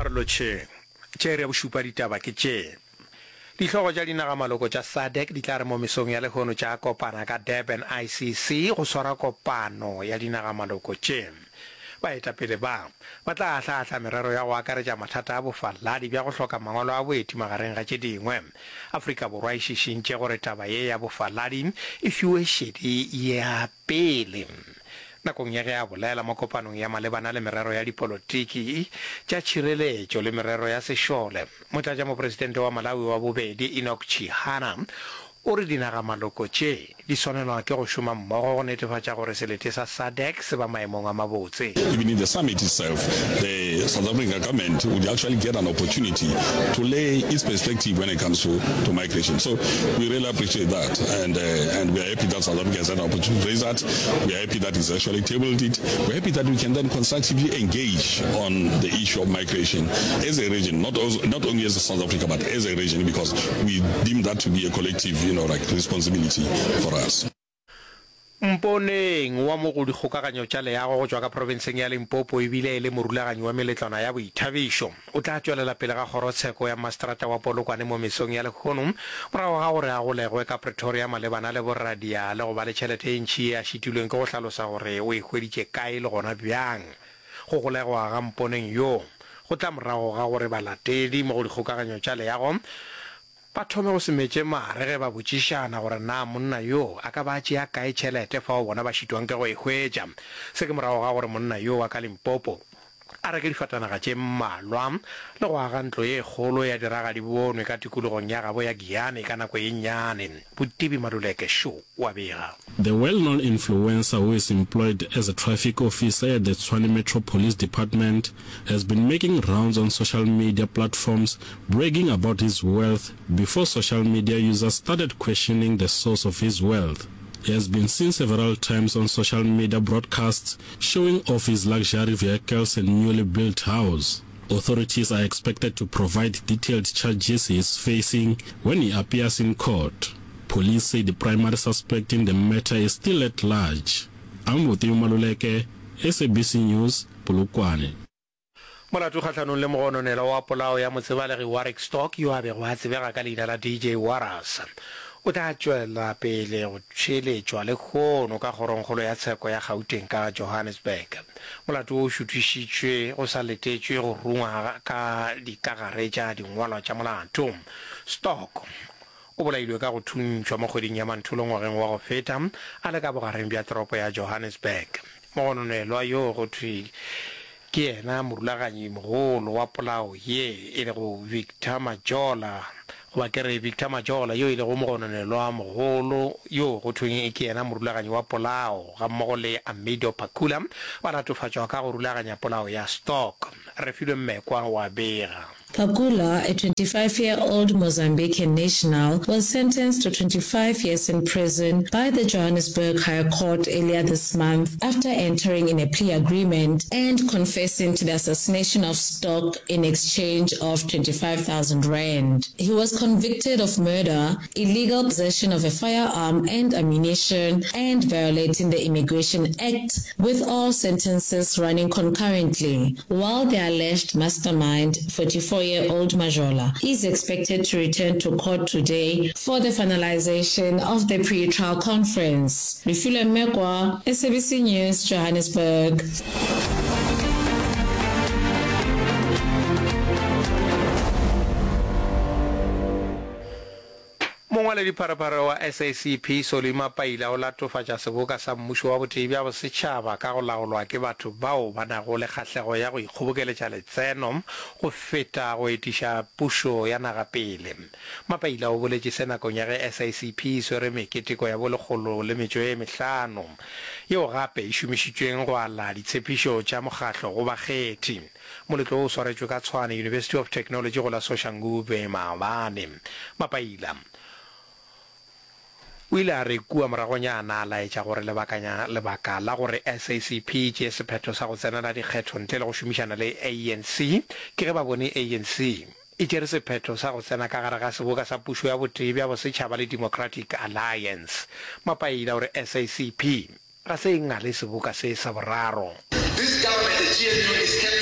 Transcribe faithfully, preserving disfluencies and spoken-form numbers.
A re lotšheng. Tše iri ya bošupa ditaba ke tše. Dihlogo tša dinagamaloko tša SADC di tla re mo mesong ya lehono tša kopana ka Durban ICC go swara kopano ya dinagamaloko tše. Baetapele ba ba tla ahlaahla merero ya go akaretša mathata a bofaladi bja go hloka mangwalo a boeti magareng ga tše dingwe. Afrika Borwa e šišintše gore taba ye ya bofaladi e fiwe šedi ya pele. Nakong ya ge a bolela mo kopanong ya malebana le merero ya dipolotiki, tša tšhireletšo le merero ya sešole, Motlatšamopresidente wa Malawi wa bobedi Enoch Chihana o re dinagamaloko tše di swanelwa ke go šoma mmogo go netefatša gore selete sa SADC se ba maemong a mabotse. Even in the summit itself, the South African government would actually get an opportunity to lay its perspective when it comes to, to migration. So we really appreciate that, and, uh, and we are happy that South Africa has had an opportunity to raise that. We are happy that it's actually tabled it. We're happy that we can then constructively engage on the issue of migration as a region, not, also, not only as a South Africa, but as a region, because we deem that to be a collective, you know, like responsibility for us. Mponeng wa mo go dikgokaganyo tša leago go tšwa ka profenseng ya Limpopo ebile e le morulaganyi wa meletlwana ya boithabišo o tla tšwelela pele ga kgorotsheko ya maseterata wa Polokwane mo mesong ya lehono morago ga gore a golegwe ka Pretoria malebana le boradia le go ba le tšhelete e ntši ye a šitilweng ke go hlalosa gore o e hweditše kae le gona bjang. Go golegwa ga Mponeng yo go tla morago ga gore balatedi mo go dikgokaganyo tša leago ba thome go se metše mare ge ba botšišana gore na monna yo a ka ba a tšea kae tšhelete fao bona ba šitwang ke go e hwetša. Se ke morago ga gore monna yo wa ka Limpopo a reke difatanaga tše mmalwa le go aga ntlo ye kgolo ya diragadibonwe ka tikologong ya gabo ya Giyani ka nako ye nnyane. Botibi Maluleke šo wa bega. The well-known influencer who is employed as a traffic officer at the Tshwane Metro Police Department has been making rounds on social media platforms bragging about his wealth before social media users started questioning the source of his wealth. He has been seen several times on social media broadcasts showing off his luxury vehicles and newly built house. Authorities are expected to provide detailed charges he is facing when he appears in court. Police say the primary suspect in the matter is still at large. I'm Mutimu Maluleke, SABC News, Polokwane. Molato kgahlanong le mogononelwa wa polao ya motsebalegi Warwick Stock yo a bego a tsebega ka leina la DJ Warras o tla tšwela pele go theeletšwa lehono ka kgorongkgolo ya tsheko ya Gauteng ka Johannesburg. Molato wo o šuthišitšwe go sa letetšwe go rungwa ka dikagare tša dingwalwa tša molato. Stock o bolailwe ka go thuntšhwa mo kgweding ya Mantholo ngwageng wa go feta a le ka bogareng bja toropo ya Johannesburg. Mogononelwa yo go thwe ke yena morulaganyi mogolo wa polao ye e lego Victor Majola goba ke re Victor Majola yo e lego mogononelwa mogolo yo go thweng ke yena morulaganyi wa polao gammogo le Amido Pakula ba latofatšwa ka go rulaganya polao ya Stock. Refilwe Mmekwa wa bega. Pakula, a twenty-five-year-old Mozambican national, was sentenced to twenty-five years in prison by the Johannesburg High Court earlier this month after entering in a plea agreement and confessing to the assassination of Stock in exchange of twenty-five thousand rand. He was convicted of murder, illegal possession of a firearm and ammunition, and violating the Immigration Act, with all sentences running concurrently, while the alleged mastermind, forty-four-year-old Majola, is expected to return to court today for the finalization of the pre-trial conference. Refilwe Mmekwa, S A B C News, Johannesburg. Mongwaledipharephare wa S A C P Solly Mapaila o latofatša seboka sa mmušo wa botee bja bosetšhaba ka go laolwa ke batho bao ba nago le kgahlego ya go ikgobokeletša letseno go feta go etiša pušo ya naga pele. Mapaila o boletše se nakong ya ge S A C P e swere meketeko ya bolekgolo le metšo e mehlano yeo gape e šomišitšweng go ala ditshepišo tša mokgatlo go bakgethi. Moletlo wo o swaretšwe ka Tshwane University of Technology go la Soshanguve maabane. Mapaila o ile a re kua moragonyana a laetša gore lebakanya lebaka la gore S A C P e tšee sephetho sa go tsenela dikgetho ntle le go šomišana le A N C ke ge ba bone A N C e tšere sephetho sa go tsena ka gare ga seboka sa pušo ya botee bja bosetšhaba le Democratic Alliance. Mapaila o re S A C P ga se e ngale seboka se sa boraro. This government, the G N U, is capable